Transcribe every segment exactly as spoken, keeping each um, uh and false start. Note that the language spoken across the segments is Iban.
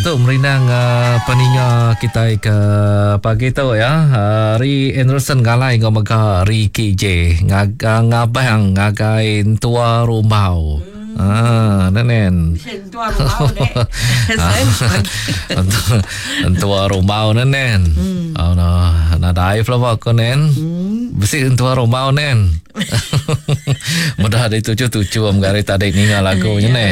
Tu merindang uh, peninga kita ke pagi tu ya. Uh, Ri Anderson Galai ngau mega Ricky J ngag ngabang ngagai tua rumbau. Hmm. Ah, nenen. Tua rumbau dek. Tua rumbau nenen. Hmm. Oh no, nadai pelaba ko nen. Hmm. Bisi tua rumbau nen. Mudah dituju-tuju am gari tadi ninga lagu nya ne.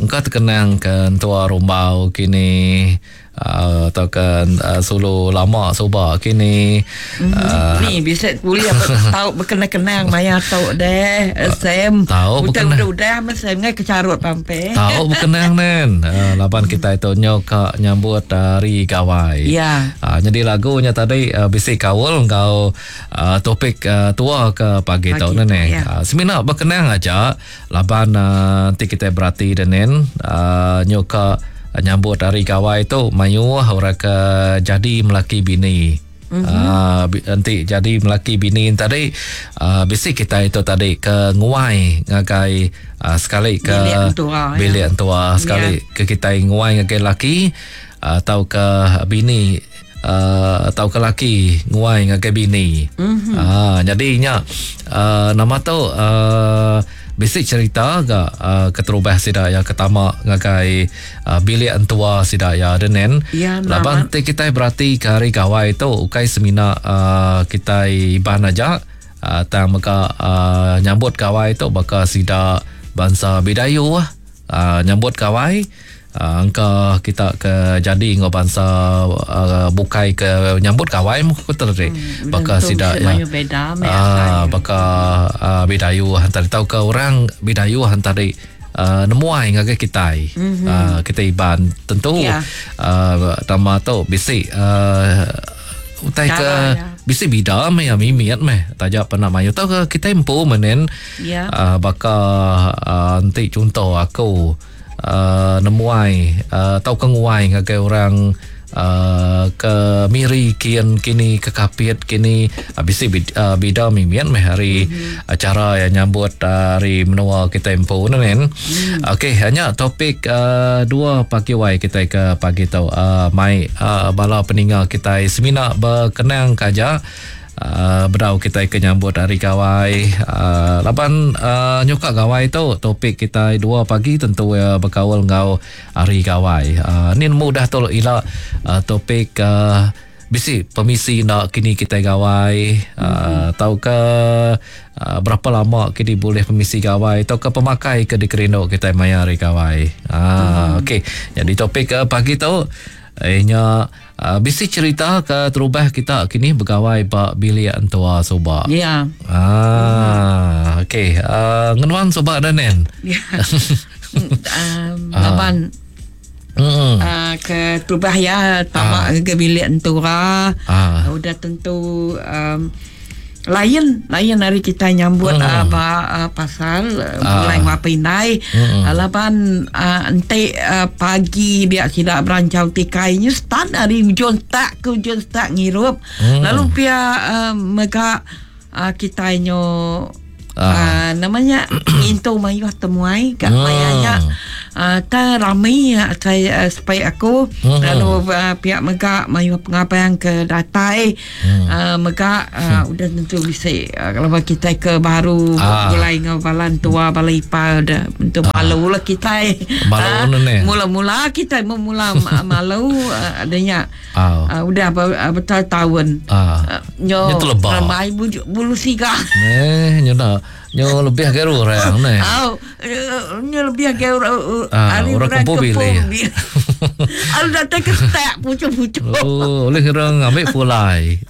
Engka terkenang ke tua rumbau kini uh, atau ke uh, sulu lama suba kini. Mm, uh, ni bisa boleh tahu berkenang-kenang maya tau deh Sam. Tahu berkenang. Udah udah Sam ngai kecarut pampe. Tahu berkenang nen. Uh, laban kita itu nyoka nyambut hari gawai. Ya. Uh, jadi lagunya tadi uh, bisi kaul ngau uh, topik uh, tua ke pagi tau nen. Ya. Uh, semina berkenang aja laban uh, nanti kita berarti denen uh, nyoka nyambut hari gawai tu mayuh orang ke jadi melaki bini. Mm-hmm. Uh, nanti jadi melaki bini tadi uh, bisi kita itu tadi ke nguai ngagai uh, sekali ke bilik entua, bilik ya. entua sekali ya. Ke kita nguai ngagai laki atau uh, ke bini uh, atau ke laki nguai ngagai bini. Mm-hmm. Uh, jadinya uh, nama tu uh, bisi cerita ga uh, keterubah sida ya ketama ngagai uh, bilik entua sida ya denen. Ya, laban ti kita berarti ke hari gawai tu ukai semina uh, kita iban aja uh, tang mega uh, nyambut gawai tu baka sida bangsa Bidayu uh, nyambut gawai uh, angka kita ke jadi ngau bangsa uh, bukai ke nyambut gawai mu ku tadi hmm, baka sida ya uh, baka uh, Bidayu hantar tau ke orang Bidayu hantar uh, nemuai ngagai kita mm-hmm. uh, kita iban tentu yeah. uh, nama tu bisi uh, utai ke ya. Bisi bida meh ya mimiat meh tajak pernah mayu tau ke kita empu menen yeah. uh, baka uh, nanti contoh aku Uh, nemuai uh, tau ke nguai ngagai orang uh, ke Miri kian kini ke Kapit kini uh, bisi bid, uh, bida mimian meh hari mm-hmm. acara yang nyambut uh, hari menua kita empu nen. Mm. Okey, hanya topik uh, dua pagi wai kita ke pagi tau uh, mai uh, bala peninga kita semina berkenang kaja Uh, berau kita ke nyambut hari gawai uh, laban uh, nyuka gawai tu topik kita dua pagi tentu uh, berkaul ngau hari gawai. Uh, ni mudah tu ila uh, topik uh, bisi permisi nak kini kita gawai mm-hmm. uh, tau ke uh, berapa lama kini boleh permisi gawai atau ke pemakai ke dikerindu kita maya hari gawai. Uh, mm-hmm. Okey, jadi topik uh, pagi tu eh nya uh, bisi cerita ke terubah kita kini begawai ba bilik entua suba. Ya. Ah, mm-hmm. Okey. Uh, ngenuan suba dah nen. Ya. um, laban Mm. Uh, ke terubah ya tamak Ah. ke bilik entura. Ah. Udah tentu um, lain lain hari kita nyambut Mm. uh, ba, uh, pasal uh, Ah. mulai ngapa indai Mm. uh, laban uh, entik uh, pagi biar tidak berancau tikainya start hari ujung tak ke ujung tak ngirup Mm. lalu pia uh, mega uh, kita nyo Ah. uh, namanya ngintu mayuh temuai kat Hmm. mayanya uh, ta ramai uh, saya uh, supaya aku Hmm. lalu uh, pihak mega mayuh pengabang ke datai Hmm. uh, mega uh, udah tentu bisa uh, kalau kita ke baru Ah. mulai ngau balan tua balai ipa udah tentu malu lah kita Malu Ah, ni. mula-mula kita memula ma- malu uh, adanya Ah. uh, udah ber, uh, bertahun-tahun Ah. Uh, nyo Nyo terlebak. ramai bulu, bulu siga Eh, nyo nak nyo lebih ke orang ni. Au, nyo lebih ke orang Ah, orang kempu bilih. Al datang ke stak pucuk-pucuk. Oh, oleh orang ambil pulai.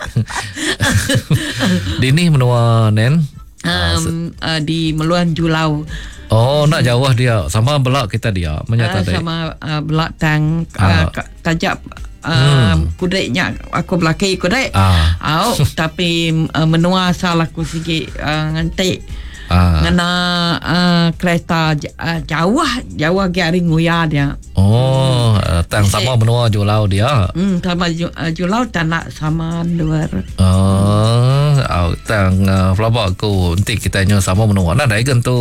Dini menua nen. Um, uh, di Meluan Julau. Oh, nak jauh dia. Sama belak kita dia Uh, menyata tadi. sama uh, belak tang Ah. uh, tajak uh, hmm. kudeknya aku belaki kudek. Ah. Au, tapi uh, menua asal aku sikit uh, ngantik. Ah. Ngena uh, kereta uh, jauh jauh ke hari nguya dia. Oh, uh, tang sama menua Julau dia. Hmm, sama ju, uh, Julau tak nak sama luar. Oh, Uh, tang uh, pelaba aku enti kita nyo sama menua nadai gentu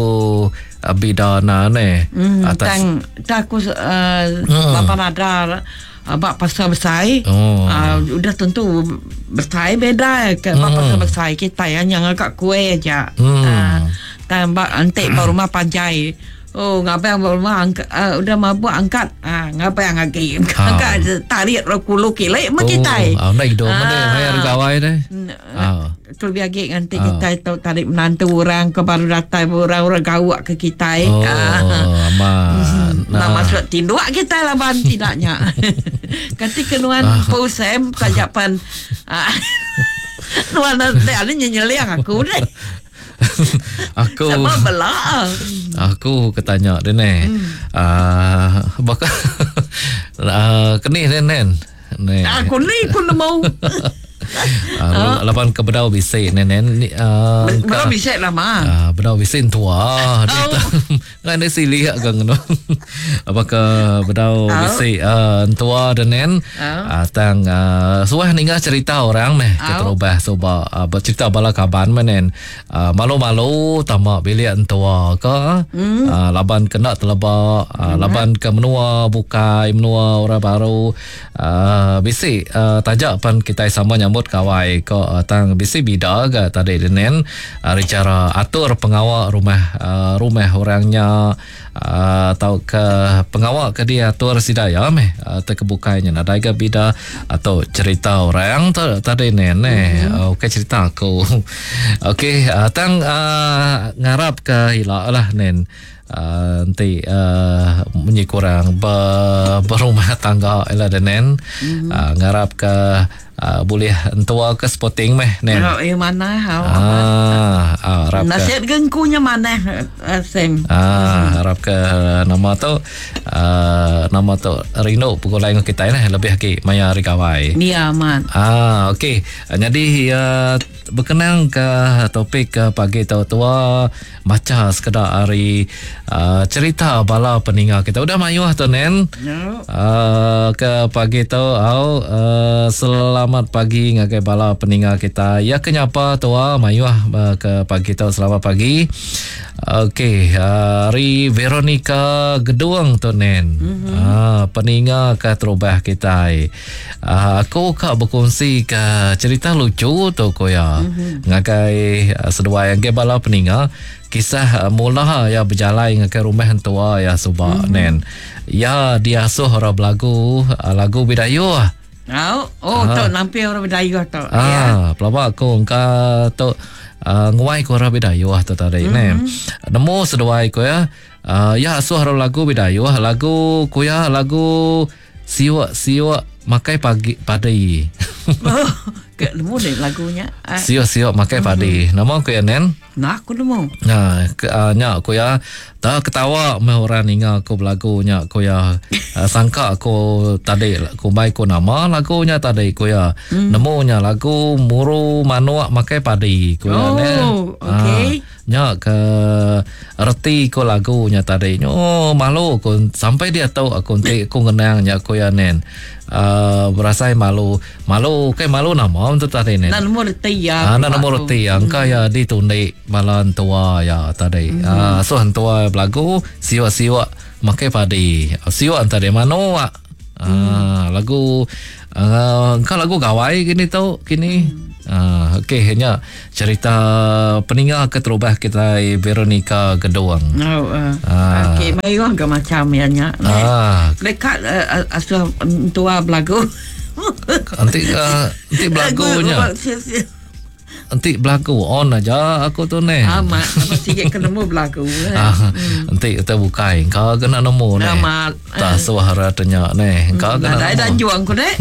uh, bida na ne. Hmm, Atas tang tak aku uh, Hmm. bapa nada uh, bak pasar besar. Oh. Uh, udah tentu besar beda ke bak pasar besar kita yang agak kuih aja. Hmm. Uh, tang bak antik ba rumah panjai. Oh, ngabang ba rumah angkat, uh, udah mabuk angkat. Ah, ngabang lagi. Ah. Angkat tarik kulu kilek mah kita. Oh, nak hidup mana Ah. bayar gawai deh. Ah. Terlebih lagi nanti Ah. kita tahu tarik menantu orang ke baru datang orang orang gawak ke kita. Oh, Ah. aman. Nah, masuk tinduk kita laban tidaknya. Ketika nuan Ah. pusem kajapan. Ah. Nuan nanti ada nyenyeliang aku deh. Aku Sama belak. aku ketanya dia ni. Ah, bakal ah, kenih dia nen. Ni. Aku ni aku nemu. Ah, lapan ke bedau bisik nen nen. Ni, ah, Belum bisa lah mah. Ah, bedau bisik tua. Dia Oh. tak kan dia silih agak ngono. Apakah bedau Oh. bisik ah, tua dan nen. Oh. Ah, tang ah, suah ninga cerita orang meh Oh. keterubah soba ah, bercerita bala kaban meh nen. Ah, malu-malu tamak bilik entua ke. Hmm. Ah, laban kena telebak, ah, laban ke menua bukai menua orang baru. Ah, bisik ah, tajak pan kita sama nyambut kawai ko ah, tang bisik bida ga tadi nen ari cara atur pengawak rumah ah, rumah orangnya ah, atau ke pengawak ke dia atur sidaya meh uh, terkebukainya nadai ga bida atau cerita orang tu tadi nen eh mm-hmm. Okey cerita aku. Okey uh, tang uh, ngarap ke hilak lah nen. Uh, nanti uh, munyi kurang ber, berumah tangga lah dan nen. Mm-hmm. Uh, ngarap ke uh, boleh entua ke sporting meh nen. Oh, eh mana hau. Ah, ah harap ke Nasihat gengkunya mana eh, Sam. Ah, harap ke nama tu uh, nama tu rindu pegulai dengan kita lah lebih lagi maya hari gawai. Ni aman. Ah, okey. Jadi uh, berkenang ke topik ke pagi tu tua baca sekedar hari uh, cerita bala peninga kita. Udah mayuh tu nen. No. Uh, ke pagi tu au uh, selamat pagi ngagai bala peninga kita. Ya kenyapa tua mayuh uh, ke pagi tu selamat pagi. Okey, hari Veronica Geduang tu nen. Mm-hmm. Ah, peninga ke terubah kita. Ah, aku kak berkongsi ke cerita lucu tu koya. Mm-hmm. Ngagai uh, seduai yang bala peninga kisah uh, mula ya berjalan ke rumah tua ya subak mm-hmm. nen. Ya diasuh orang belagu uh, lagu Bidayuh. Oh, oh tu nampi orang Bidayuh tu. Ah, Ya. pelabak aku engka tu uh, nguai ko orang Bidayuh tu tadi mm-hmm. ne. Nemu seduai ko ya. Uh, ya asuh orang lagu Bidayuh, lagu kuya lagu siwak-siwak makai pagi padi. Oh, ke nemu deh lagunya. Ah, Siwak-siwak makai padi. Nama ku ya nen? Nah, aku nemu. Nah, ke, uh, nyak ku ya tak ketawa meh orang ninga aku belagu nyak ku ya uh, sangka aku tadi ku mai ku nama lagunya tadi ku ya mm. nemunya lagu muru manuk makai padi ku ya Oh, ne. okey. Ah, nyak ke reti ku lagunya tadi. Oh, malu ku sampai dia tahu aku nanti aku ngenang nyak ku ya nen. Uh, berasai malu. Malu ke malu nama untuk tadi nen. Nak nemu reti ya. Ah, nak nombor reti yang mm. kaya ditundik malan tua ya tadi. Mm. Ah, so tua belagu siwak-siwak makai padi. Siwak antara mano ah. Ah, lagu uh, kau lagu gawai gini tu kini. Mm. Ah, okey hanya cerita peninga keterubah kita Veronica Geduang. Oh, uh. Ah. Okey, mayuh ke macam ya nya. Ah, Dekat uh, asuh tua belagu. nanti uh, nanti belagunya. Nanti belagu on aja aku tu ni. Amat, apa sikit kena nemu belagu. eh. Ah, nanti kita bukai kau kena nemu ni. Amat. Tak suara tanya ni. Kau kena Ada nemu. dah juang ku dek.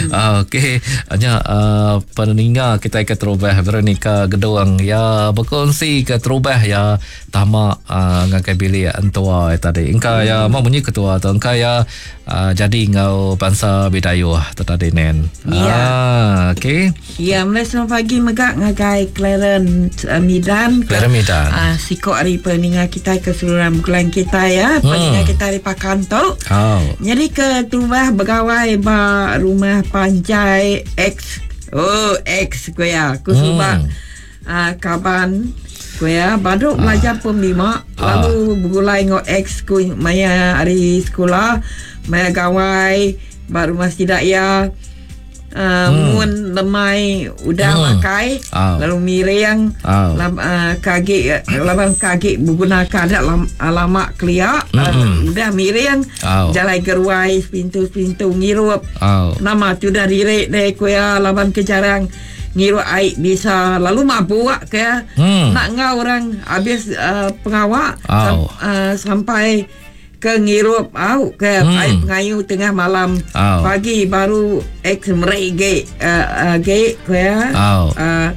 Ah, okey, hanya uh, peninga kita ke terubah Veronica Geduang ya berkongsi ke terubah ya tamak uh, ngakai bilik entua tadi. Engka ya mau bunyi ketua tu engka ya uh, jadi ngau bangsa Bidayuh tu tadi nen. Ya. Ah, okey. Ya, mulai selamat pagi megak ngagai Clarence uh, Midan. Clarence Midan. Ah, sikok hari peninga kita keseluruhan bulan kita ya. Peninga kita hari pakan tu. Oh. Jadi ke terubah begawai ba rumah panjai ex Oh, ex ku ya. Ku suba Hmm. uh, kaban ku ya baru belajar pom lima Ah. lalu bergulai ngau ex ku maya hari sekolah, maya gawai, ba rumah sidak ya. Uh, Hmm. Mun lemai udah Hmm. makai Ah. lalu miring Ah. lam, uh, kagi laban kagi menggunakan adat lam, lama kelia uh, Mm-mm. udah miring Ah. jalai geruai sepintu-sepintu ngirup Oh. nama tu dah dirik deh kuya laban kejarang ngirup air bisa lalu mabuk ke Hmm. nak ngau orang habis uh, pengawak Au. sam, uh, sampai ke ngirup au ke Hmm. air pengayu tengah malam Au. pagi baru ex merek ge uh, uh, ge kuya Au. uh,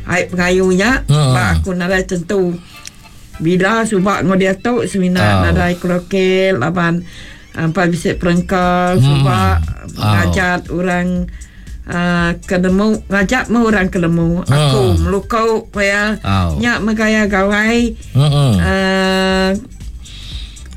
air pengayunya Hmm. ba aku nadai tentu bila subak ngau dia tu semina Au. nadai krokel laban empat bisik perengkal Hmm. subak Au. ngajat orang uh, kedemu ngajat mu orang kedemu aku Hmm. melukau ya Au. nyak megaya gawai Hmm. uh,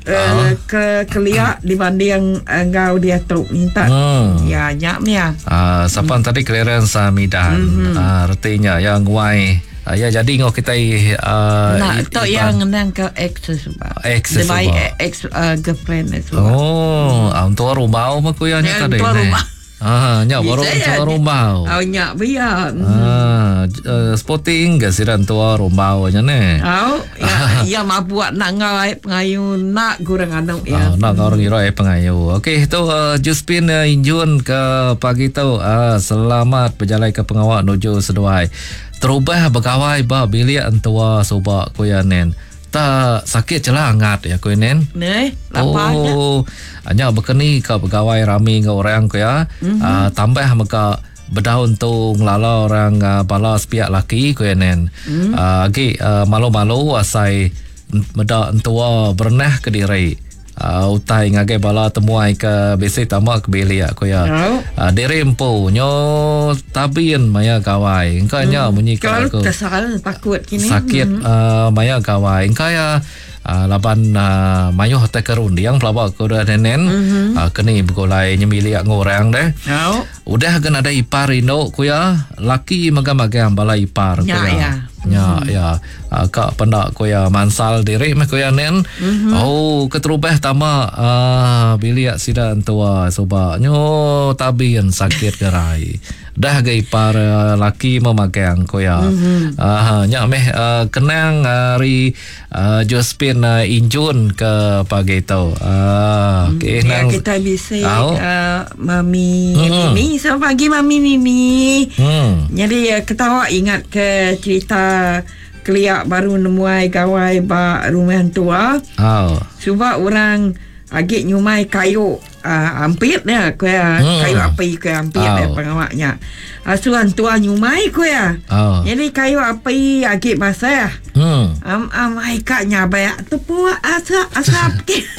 uh, ke keliak dibanding enggau dia tu minta Hmm. ya nyak mia Ah, siapa hmm. tadi Clarence Hamidan. Mm-hmm. Ah, artinya yang nguai. Ah, ya jadi ngau kita uh, nak tu yang ngenang ke ex sebab Ex Dia baik sebab. ex uh, girlfriend sebab Oh, ah, untuk rumah apa ku yang Ya, tadi. untuk ni? rumah. Ah, nya baru Bisa untuk ya, rumah. Oh nyak biar. Ah, uh, sporting ke siran tua rumah nya ne. Oh, ya, ya mabuk nak ngau air pengayu nak kurang anu Ya. ya. Ah, nak orang kira eh pengayu. Okey, tu uh, Josephine uh, Injun ke pagi tu. Uh, selamat berjalan ke pengawak nuju seduai. Terubah bergawai ba bilik entua subak ku ya nen. Tak sakit celah angat ya ku nen. Neh, lapanya. Oh, hanya berkeni ke pegawai rami dengan orang ku ya. Mm-hmm. Uh, tambah maka berdaun tu ngelala orang uh, bala sepiak laki ku ya nen. Mm. Uh, agi uh, malu-malu asai meda entua berenah ke diri. Uh, utai ngagai bala temuai ke bisi tamak ke bilik ku ya. Oh. Uh, diri empu nyo tabin maya gawai. Engkau nya munyi ke Kalau aku kesal takut kini. sakit mm-hmm. uh, maya gawai engkau ya uh, laban uh, mayuh te kerundiang pelaba ku dah nenen mm-hmm. uh, keni begulai nyemiliak ngorang deh Oh. udah kan ada ipar induk ku ya laki magang-magang bala ipar ku Ya, ya ya. Ya, ya. Uh, kak pendak ku ya mansal diri meh ku ya nen. Mm-hmm. Oh, keterubah tama uh, bilik sida entua suba. Nyo tabin sakit gerai. Dah ga ipar uh, laki memagang ku ya. Mm-hmm. Uh, nya meh uh, kenang hari uh, Josephine uh, Injun ke pagi tu. Uh, okey Ya, nang kita bisa Au. uh, Mami Hmm. Mimi. Selamat pagi Mami Mimi. Hmm. Jadi uh, ketawa ingat ke cerita keliak baru nemuai gawai ba rumah tua. Oh. Sebab orang agik nyumai kayu uh, ampit dia ku ya Hmm. kayu api ku ampit Oh. dia pengawaknya. Asuhan tua nyumai ku ya. Oh. Jadi kayu api agik basah. Hmm. Am am ai kak nyabak tu asap asap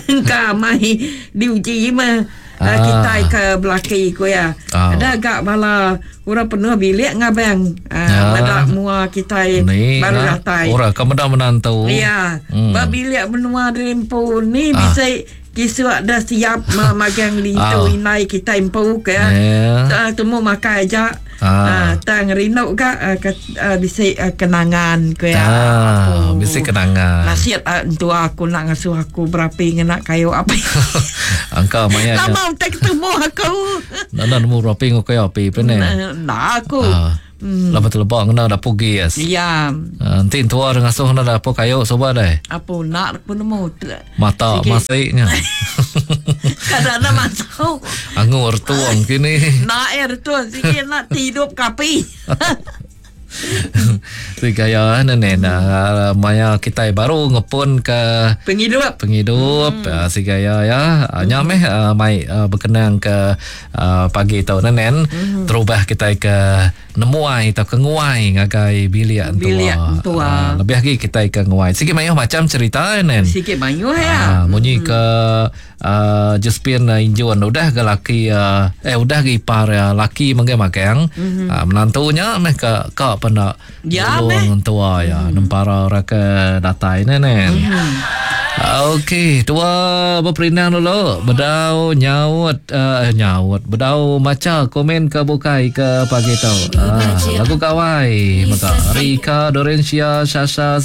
ke mai diuji mah. Ah. Ah. Kita ke belaki ku ya. Ah. Ada agak bala orang penuh bilik ngabang. Ah. Ah, medak mua kita Ni baru nah, datai. Orang ke meda menantu. Ya, Hmm. hmm. ba bilik menua rempu ni Ah. ah. bisa kisuk dah siap memagang lintu Ah. inai kita empu ke. Ya. Uh, temu makai aja. Ah. Ah, tang rindu ka uh, ke, uh, bisa uh, kenangan ke ya. Ah, Aku. bisi kenangan. Nasihat uh, entua aku nak ngasuh aku berapi ngena kayu api. Angka maya nya. Lama tak ketemu aku. Nak nak nemu rapi ngau kayu api pene. Nah aku. Ah. Hmm. Lama terlebak kena dapur gas. Ya, Ah, nanti tua dengan ngasuh kena dapur kayu soba deh. apa nak aku nemu. Mata Sikit. masiknya. Kadang-kadang masuk. Angur tuang kini. Nak air tu sikit nak tidur kapi. Si gaya nenek nah, maya kita baru ngepun ke Penghidup. penghidup hmm. uh, si gaya ya uh, hmm. nyameh uh, mai uh, berkenang ke uh, pagi tau nenen hmm. terubah kita ke nemuai atau ke nguai ngagai bilik entua. Bilik entua. Uh, lebih lagi kita ke nguai. Sikit mayuh macam cerita nen. Sikit banyak ya. Ah, munyi hmm. ke uh, Josephine uh, Injun udah ke laki uh, eh udah ke ipar uh, laki mengge-magang mm-hmm. uh, menantunya meh ke ka pena Ya, nulung tua ya mm. nempara orang ke datai nen. Hmm. Okey, tua beperindang dulu. Bedau nyaut uh, nyaut. Bedau maca komen ke bukai ke pagi tu. Uh, lagu gawai mega. Rika Dorencia Sasha.